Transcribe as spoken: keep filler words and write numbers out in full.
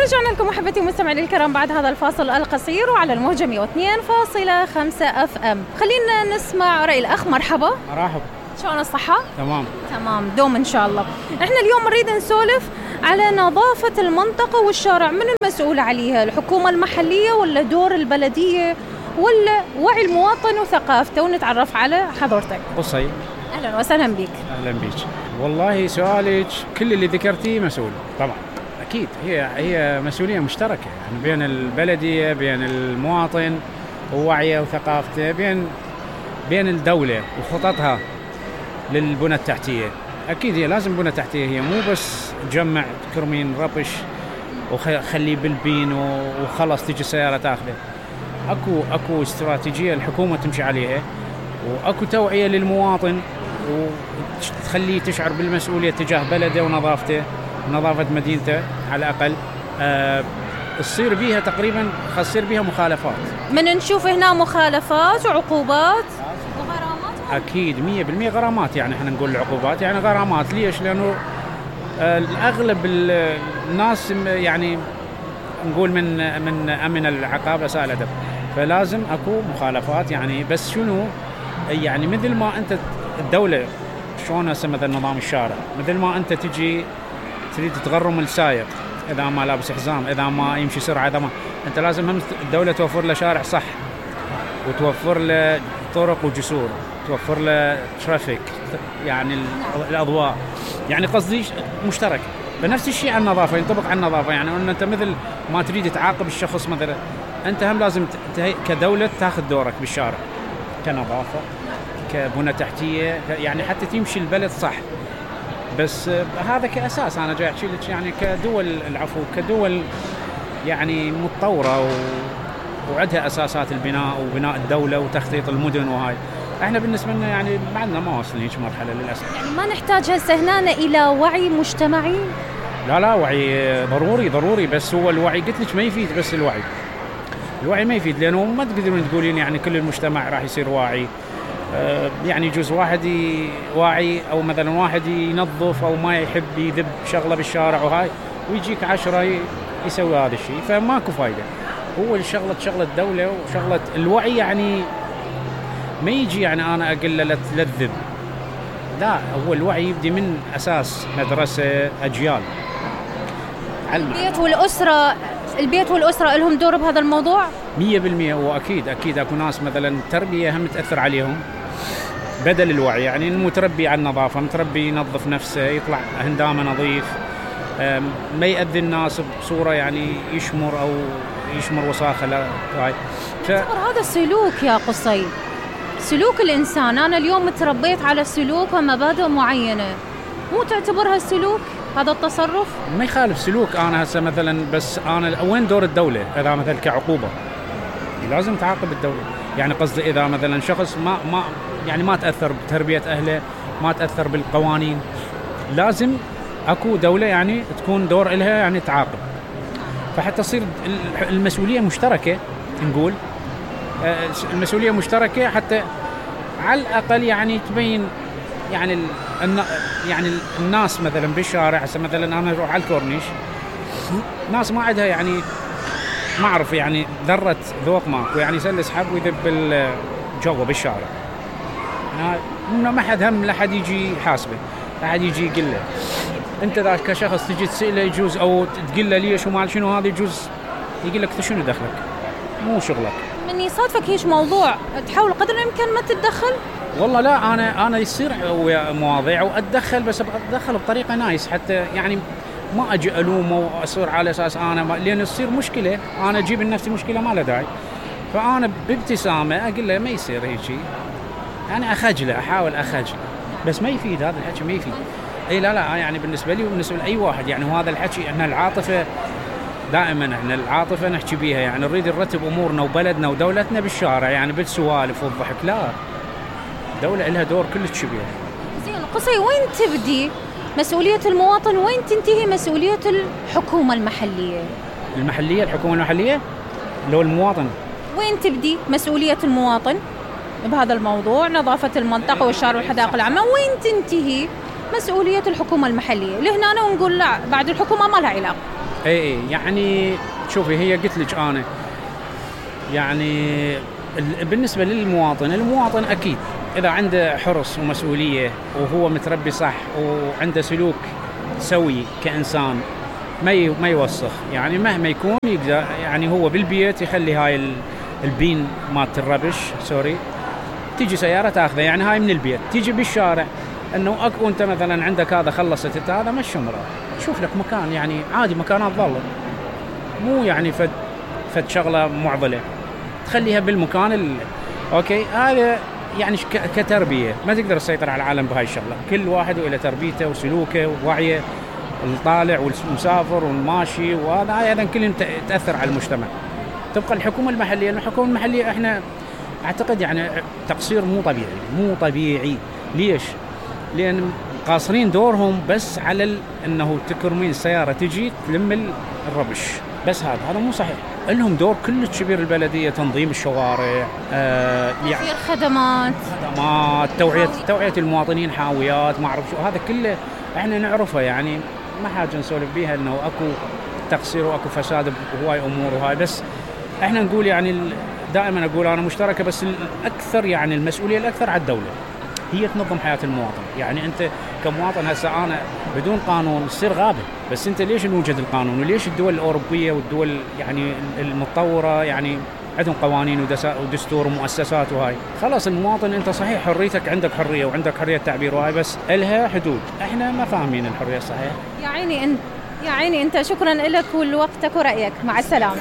ورجعنا لكم محبتي ومستمعي الكرام بعد هذا الفاصل القصير وعلى الموجة مئة واثنين فاصلة خمسة اف ام. خلينا نسمع رأي الأخ. مرحبا. مرحبا. شلون الصحة؟ تمام تمام دوم إن شاء الله. احنا اليوم نريد نسولف على نظافة المنطقة والشارع، من المسؤول عليها؟ الحكومة المحلية ولا دور البلدية ولا وعي المواطن وثقافته؟ ونتعرف على حضرتك. قصي. أهلا وسهلا بك. أهلا بك. والله سؤالك كل اللي ذكرتيه مسؤول طبعا أكيد، هي هي مسؤولية مشتركة يعني بين البلدية بين المواطن ووعيه وثقافته، بين بين الدولة وخططها للبنى التحتية. أكيد هي لازم بنى تحتية، هي مو بس تجمع كرمين ربش وخليه بالبين وخلص تيجي السيارة تاخذه. أكو أكو استراتيجية الحكومة تمشي عليها، وأكو توعية للمواطن وتخليه تشعر بالمسؤولية تجاه بلده ونظافته ونظافة مدينته على الأقل. أه تصير بيها تقريبا خاص يصير بيها مخالفات، من نشوف هنا مخالفات وعقوبات وغرامات. أكيد مية بالمية غرامات، يعني احنا نقول العقوبات يعني غرامات. ليش؟ لأنه أه الأغلب الناس يعني نقول من من أمن العقاب أساء الأدب، فلازم أكو مخالفات. يعني بس شنو يعني مثل ما أنت الدولة شلون هسه مثل نظام الشارع، مثل ما أنت تجي تريد تغرم السائق إذا ما لابس حزام، إذا ما يمشي سرعة، إذا ما أنت لازم هم الدولة توفر له شارع صح، وتوفر له طرق وجسور، توفر له ترافيك يعني الأضواء، يعني قصدي مشترك. فنفس الشيء على النظافة ينطبق على النظافة. يعني أن أنت مثل ما تريد تعاقب الشخص مثلا، أنت هم لازم كدولة تأخذ دورك بالشارع كنظافة كبنى تحتية، يعني حتى تمشي البلد صح. بس هذا كأساس أنا جاي أحكي لك يعني كدول العفو كدول يعني متطورة و... وعندها أساسات البناء وبناء الدولة وتخطيط المدن، وهاي احنا بالنسبة لنا يعني بعدنا ما وصلنا هيك مرحلة للأسف. يعني ما نحتاج هسه هنا إلى وعي مجتمعي؟ لا لا وعي ضروري ضروري، بس هو الوعي قلت لك ما يفيد. بس الوعي الوعي ما يفيد، لأنه ما تقدرون تقولين يعني كل المجتمع راح يصير واعي. أه يعني يجوز واحد واعي أو مثلا واحد ينظف أو ما يحب يذب شغلة بالشارع وهاي، ويجيك عشرة يسوي هذا الشيء، فماكو فايدة. هو الشغلة شغلة الدولة وشغلة الوعي، يعني ما يجي يعني أنا أقول له تلذب، لا هو الوعي يبدي من أساس مدرسة أجيال. البيت والأسرة البيت والأسرة لهم دور بهذا الموضوع مية بالمية. وأكيد أكيد أكو ناس مثلا التربية هم تأثر عليهم بدل الوعي، يعني المتربي على النظافة، متربي ينظف نفسه، يطلع هندامه نظيف، ما يأذي الناس بصورة يعني يشمر أو يشمر وساخة. لا ف... هذا سلوك يا قصي، سلوك الإنسان. أنا اليوم تربيت على سلوك ومبادئ معينة، مو تعتبرها سلوك هذا التصرف؟ ما يخالف سلوك. أنا هسه مثلا بس أنا وين دور الدولة؟ إذا مثلا كعقوبة لازم تعاقب الدولة، يعني قصدي إذا مثلا شخص ما ما يعني ما تأثر بتربية أهله، ما تأثر بالقوانين، لازم أكو دولة يعني تكون دور إلها يعني تعاقب، فحتى تصير المسؤولية مشتركة. نقول المسؤولية مشتركة حتى على الأقل يعني تبين يعني يعني الناس مثلا بالشارع. هسه مثلا أنا أروح على الكورنيش، ناس ما عندها يعني ما أعرف يعني ذرة ذوق ماكو، يعني يسلس حب ويذب الجو بالشارع، إنه ما حد هم لا حد يجي حاسبه، لا حد يجي يقول له. أنت ذاك كشخص تجي تسأله يجوز أو تقول له ليش وما شنو هذا، يجوز يقول لك شنو دخلك، مو شغلك. من يصادفك هيش موضوع تحاول قدر الإمكان ما تتدخل؟ والله لا، أنا أنا يصير مواضيع وأتدخل، بس أتدخل بطريقة نايس، حتى يعني ما أجي ألومه وأصير على أساس أنا ما، لأن يصير مشكلة أنا أجيب لنفسي مشكلة ما له داعي، فأنا بابتسامة أقول له ما يصير هيك شيء، يعني أخجله، أحاول أخجله، بس ما يفيد هذا الحكي، ما يفيد. أي لا لا يعني بالنسبة لي وبالنسبة لأي واحد يعني وهذا الحكي إحنا العاطفة دائما إحنا العاطفة نحكي بيها، يعني نريد نرتب أمورنا وبلدنا ودولتنا بالشارع يعني بالسوالف والضحك، لا الدولة لها دور كلش كبير. زين قصي، وين تبدي مسؤولية المواطن وين تنتهي مسؤولية الحكومة المحلية؟ المحلية الحكومة المحلية لو المواطن وين تبدي مسؤولية المواطن بهذا الموضوع، نظافة المنطقة والشارع والحدائق العامة، وين تنتهي مسؤولية الحكومة المحلية لهنا ونقول لا بعد الحكومة ما لها علاقة. اي اي يعني شوفي هي قلت لك انا يعني بالنسبة للمواطن، المواطن اكيد اذا عنده حرص ومسؤولية وهو متربي صح وعنده سلوك سوي كإنسان ما ما يوسخ، يعني مهما يكون يقدر يعني هو بالبيت يخلي هاي البين مالت الربش سوري تيجي سيارة تاخذه، يعني هاي من البيت تيجي بالشارع انه اكو انت مثلا عندك هذا خلصت هذا مش عمره شوف لك مكان يعني عادي مكانات ظل مو يعني فد فد شغله معضله تخليها بالمكان ال... اوكي هذا يعني كتربيه ما تقدر تسيطر على العالم بهاي الشغله، كل واحد وإلى تربيته وسلوكه ووعيه، الطالع والمسافر والماشي وهذا ايضا كلهم تاثر على المجتمع. تبقى الحكومه المحليه، الحكومه المحليه احنا اعتقد يعني تقصير مو طبيعي مو طبيعي. ليش؟ لان قاصرين دورهم بس على ال... انه تكرمين السياره تجي تلم الربش بس، هذا هذا مو صحيح. لهم دور كلش كبير البلديه، تنظيم الشوارع، آه يعني خدمات خدمات توعيه توعيه المواطنين، حاويات ما اعرف شو، هذا كله احنا نعرفه يعني ما حاجه نسولف بيها انه اكو تقصير واكو فساد بهواي امور وهاي، بس احنا نقول يعني دائما اقول انا مشتركه، بس الاكثر يعني المسؤوليه الاكثر على الدوله، هي تنظم حياه المواطن. يعني انت كمواطن هسه انا بدون قانون تصير غابه، بس انت ليش نوجد القانون؟ وليش الدول الاوروبيه والدول يعني المتطوره يعني عندهم قوانين ودستور ومؤسسات وهاي؟ خلاص المواطن انت صحيح حريتك، عندك حريه وعندك حريه تعبير وهاي، بس لها حدود. احنا ما فاهمين الحريه الصحيحه. يا عيني انت يا عيني انت شكرا لك ولوقتك ورأيك، مع السلامه.